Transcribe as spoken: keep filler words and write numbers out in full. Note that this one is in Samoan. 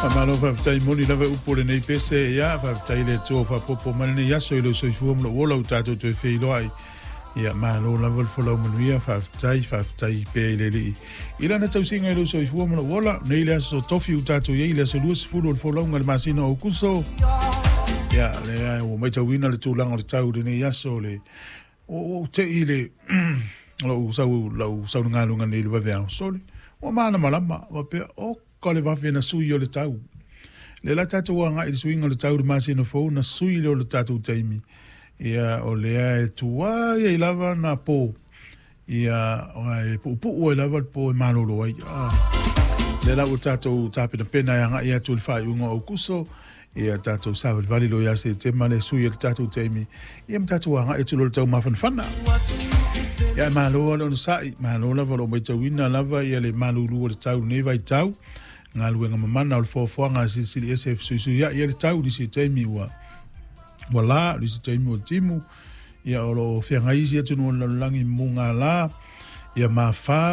Faamalo faafetai moni lava upu o lenei pese. Ia, faafetai i le Atua ua faaopoopo mai lenei aso i lou soifua ma lou ola ua tatou toe feiloai. Ia, malo lava le folau manuia, faafetai, faafetai pea i le Alii i lana tausiga i lou soifua ma lou ola. Nei le aso tofi ua tatou i ai, le aso luasefulu o le folauga i le masina o Aokuso. Ia, lea ua matauina le tulaga o le tau i lenei aso, le ua ou te i le lou sau lau sauligaluga nei i le vaveao sole. Ua malamalama, faapea, oka le vave na sui o le tau. Le la tatou agai i le suiga o le tau i le masina fou na sui lea o le tatou taimi. Ia, o lea e tuai ai lava na po. Ia, e puupuu ai lava le po e malolo ai. Ah. Le la ua tatou tapenapena e agai atu i le faaiuga o Aokuso. Ia tatou savalivali loa ia Setema le sui o le tatou taimi. Ia ma tatou agai atu loa i le taumafanafana. Ia malo le onosai, malo lava o lo o matauina lava ia le malulu o le tau nei vaitau. Galuega mamana o le foafoaga a Silisili Ese e fesuisuiai ai le tau nisi o taimi ua ua la, nisi taimi ua timu. Ia o lo o feagai isi atunuu o le lalolagi i mugala, ia mafā